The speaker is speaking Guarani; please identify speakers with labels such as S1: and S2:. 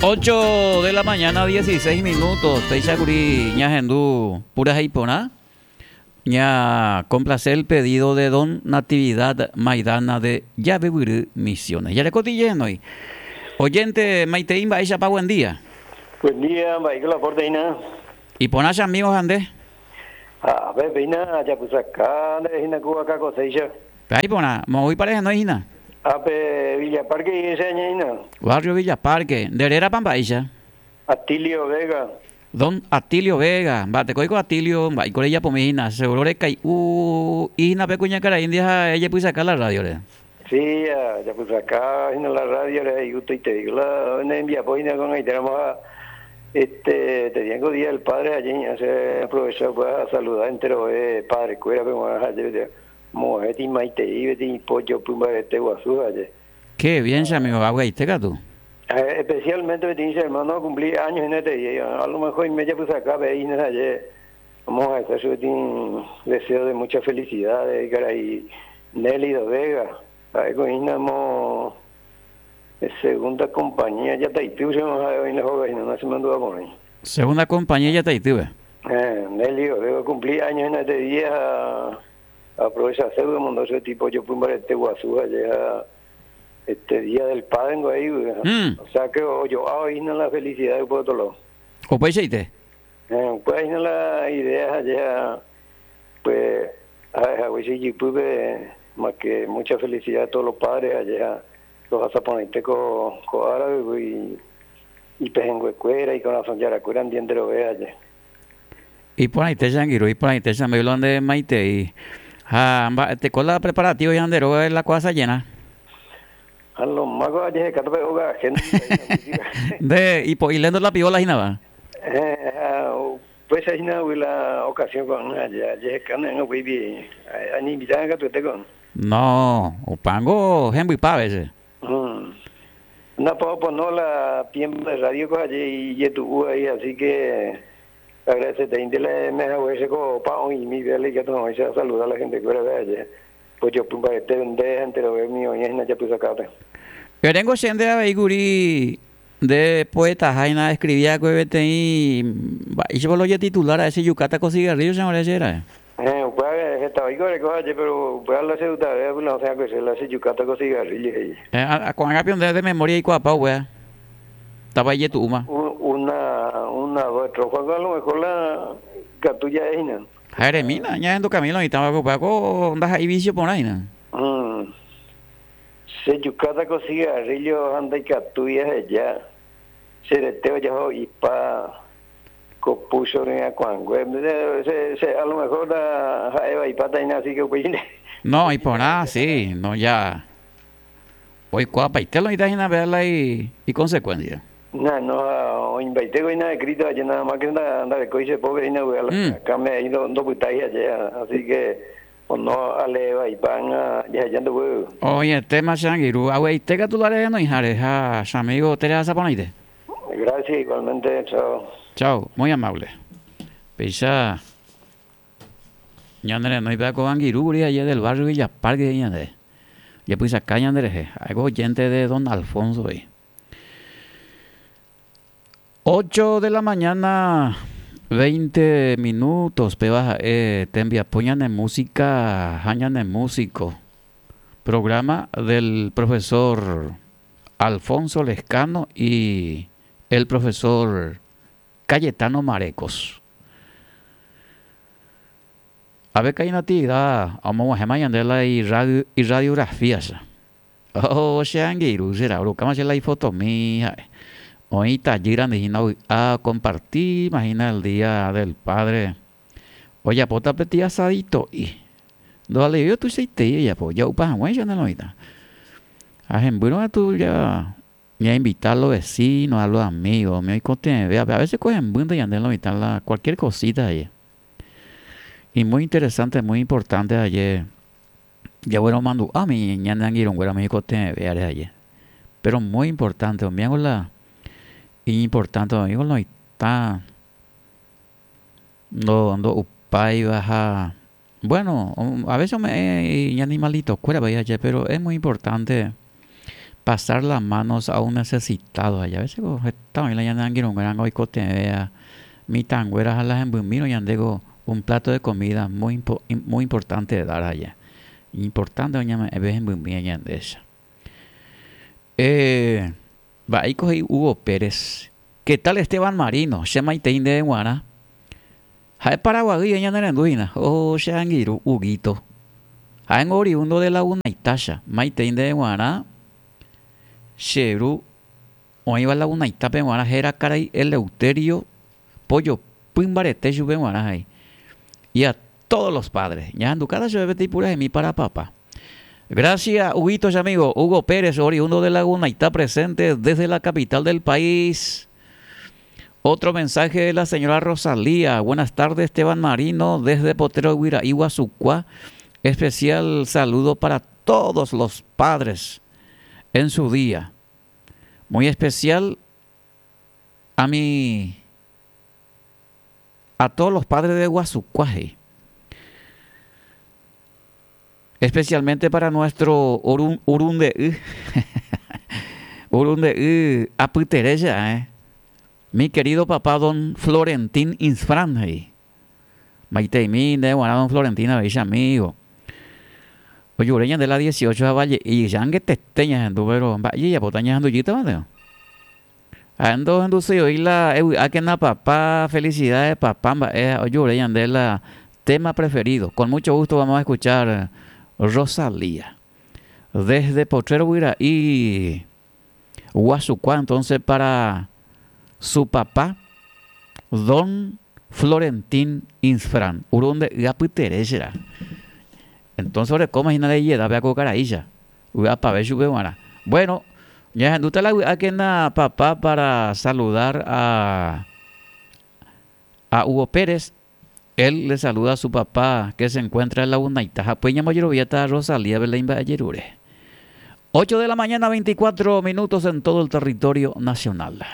S1: 8 de la mañana 16 minutos. Péicha kuri ñahendu purahéi porã. Ña complace el pedido de don Natividad Maidana de Yavevyry Misiones. Jareko tijehenói. Oyente maitei mba'éichapa buen día.
S2: Buen día, mba'éiko la porte hína.
S1: Iporã che amigo ha nde.
S2: Ha pe péina ajapysaka nde hína ku vaka koséicha.
S1: Pe iporã, moõguipa rehenói hína?
S2: Ápe Villa Parque guive che añe hína.
S1: Barrio Villa Parque, nde rérapa mba'éicha?
S2: Atilio Vega.
S1: Don Atilio Vega, mba'etekóiko Atilio, mba'éiko rejapomi hína, seguro rekai'u hína pe kuñakarai ha ejepysaka la radio-re.
S2: Sí, ajapysaka hína la radio-re ha igustoiteíko la ne rembiapo hína ko'ag̃aitéramo ha este teníango día del padre ha aje che aprovecha upéva asaluda enterove padre-kuérape g̃uarã ha aje Mo'ẽti maitei peteĩ po jopy mbarete guasu aje.
S1: Qué bien che amigo, avy'aite katu.
S2: Especialmente peteĩ che hermano ocumpli años hína etei, a lo mejor oime japysaka avei hína aje, omoha'ete chupe peteĩ deseo de mucha felicidad karai Nélido Vega, ha'éko hína mo segunda compañía Yataitýpe che ha'e oĩ la hóga hína, nachemandu'a porãi.
S1: Segunda compañía Yataitýpe.
S2: Nélido Vega ocumpli años hína este día ha Aprovechaségui omondo che tipo ojopy mbarete guasu aje ha este día del padre ngo he'ígui. O sea que ojo'a oĩ hína la felicidad upe otro lado.
S1: Upeichaite.
S2: Upéva hína la idea aje ha pues ha'e haguéicha ijypýpe más que mucha felicidad a todos los padres aje ha rohasa porãite ko árape ipehẽnguekuéra, ikorasõ jarakuéra ndie enterove aje.
S1: Iporãite che angirũ, iporãite che amigo la nde maitei. Ha mba'eteko la preparativo ñande róga la kuasajerã.
S2: Ha lo máko ajehekáta pe óga ajeno
S1: Nde ipo'i lénto la piola hína va.
S2: Eh, ha upéicha hína gui la ocasión ko'ág̃a ajehekáne ág̃a upéipi añeinvitáne katuete ko'ág̃a.
S1: No, upángo hembypa a veces.
S2: No puedo poner la tiempo de radio ko aje ijetu'u ahí, así que agradeceteinte la me hague ko pa oĩmi véale ikatu hag̃uáicha saluda la gente kuéra ve aje. Pojopy mbarete nde ha enterove umi oĩva hína japysakápe.
S1: Eréngo che nde avei kuri nde poetaha hína escribí va'ekue peteĩ mba'éichapa la ojetitular ra'e che jukáta ko cigarrillo che ore che ra'e.
S2: Héẽ, upéva heta oiko oreko aje, péro upéva la che gustave la osẽ va'ekue che la che jukáta ko cigarrillo he'i.
S1: Héẽ, ko'ág̃a pio nde de memoria eikuaapa upéva, táva ijetu'úma.
S2: Una, una, dos estrofa a lo mejor la ikatu ja'e hína.
S1: Ha eremína, ñahendu Camilo oĩtã va'ekue upéva ko ndaha'éi vicio porã hína.
S2: Che jukáta ko cigarrillo ha ndaikatúi aheja che rete ojaho'ipa. Ko púcho ryakuãngue, che a lo mejor la ha'e vaipáta hína así que upéi nde.
S1: No, iporã, sí, no ya oikuaapaite lo oĩta hína péva la iconsecuencia.
S2: No, no, oĩmbaite ko hína escrito aje nada más que ndarekói che pópe hína upéva la akãme ahí ndopytái aje, así que ono alee vaipa ág̃a jaheja ndoguy.
S1: Oĩetéma che angirũ, avy'aite katu la rehenoiháre ha che amigo terehasa porãite.
S2: Gracias igualmente, chao.
S1: Chao, muy amable. Péicha ñane renóipe ko angirũ kuri aje del barrio Villa Parque he'i ñande. Jepysaka ñande rehe. Ha'éko oyente de don Alfonso he'i. 8 de la mañana 20 minutos péva ha'e tembiapo ñane música ha ñane músico. Programa del profesor Alfonso Lescano y el profesor Cayetano Marecos. Ave ka'i natividad omog̃uahẽma ñande la irradiografía-cha. Oh, che angirũ, che ra'yrukáma che la ifotomi ha'e. Oĩ itajýra nde hína ovy'a okompartíma hína el día del padre. Ojapóta peteĩ asadito'i. Ndovaleivéi otuichaitei ojapo, ja'upa hag̃uáicha ne lo mitã. Ha hembýrõ katu ja ñainvita a los vecinos, a los amigos, umi oikotevẽvévape. A veces ko hembýnte ñande lo mitã la cualquier cosita aje. Y muy interesante, muy importante aje jagueromandu'a umi ñane angirũnguéra umi oikotevẽvévare aje. Pero muy importante, umívango la iñimportante oĩvo lo mitã. Ndo ndo'upáiva ha bueno, a veces ome'ẽ iñanimalitokuérava aje, pero es muy importante. Pasar las manos a un necesitado. A veces heta oĩ la ñane angirũnguéra oikotevẽva mitãnguéra ha la hembymírõ ñandéko un plato de comida muy muy importante dar allá. Importante oñeme'ẽve hembymíva ñandéicha. Eh, mba'éiko he'i Hugo Pérez. ¿Qué tal Esteban Marino? Che maitei ndéve g̃uarã. Ha'e Paraguaýpe ñanerendu hína. Oh, che angirũ, Huguito. Ha'éngo oriundo de Lagunaita-cha. Maitei ndéve g̃uarã che ru oĩva Lagunaitápe g̃uarã héra karai Eleuterio Pojopy mbarete chupe g̃uarã he'i. Y a todos los padres. Ñahendukáta chupe peteĩ puraheimi para papá. Gracias, Huguito, che amigo. Hugo Pérez, oriundo de Lagunaita, presente desde la capital del país. Otro mensaje de la señora Rosalía. Buenas tardes, Esteban Marino, desde Potrero Guyra'i, Guasucua. Especial saludo para todos los padres en su día. Muy especial a mi a todos los padres de Guasucua. Especialmente para nuestro Urunde'y. Urunde'y apyterécha, eh. Mi querido papá don Florentín Insfrán he'i. Maiteimi nde guarã don Florentín avei che amigo. Ojure ñande la 18 ha Valle'i angetete ñahendu pero mba'e jajapóta ñahendu jýtava nde. Ha'e ndohenduséi oĩ la evy'ákena papá, felicidades papá mba'e ojure ñande la tema preferido. Con mucho gusto vamos a escuchar Rosalía. Desde Potrero Guyra'i Guasukua entonces para su papá don Florentín Insfrán. Urunde'y apytere será. Entonces orekóma hína de ijedápe ako karaícha. Vy'apave chupe g̃uarã. Bueno, ñahendúta la vy'ákena papá para saludar a a Hugo Pérez. Él le saluda a su papá que se encuentra en Lagunaita. Ha upéi ñambojeroviáta Rosalía Belén mba'ejerure. 8 de la mañana 24 minutos en todo el territorio nacional.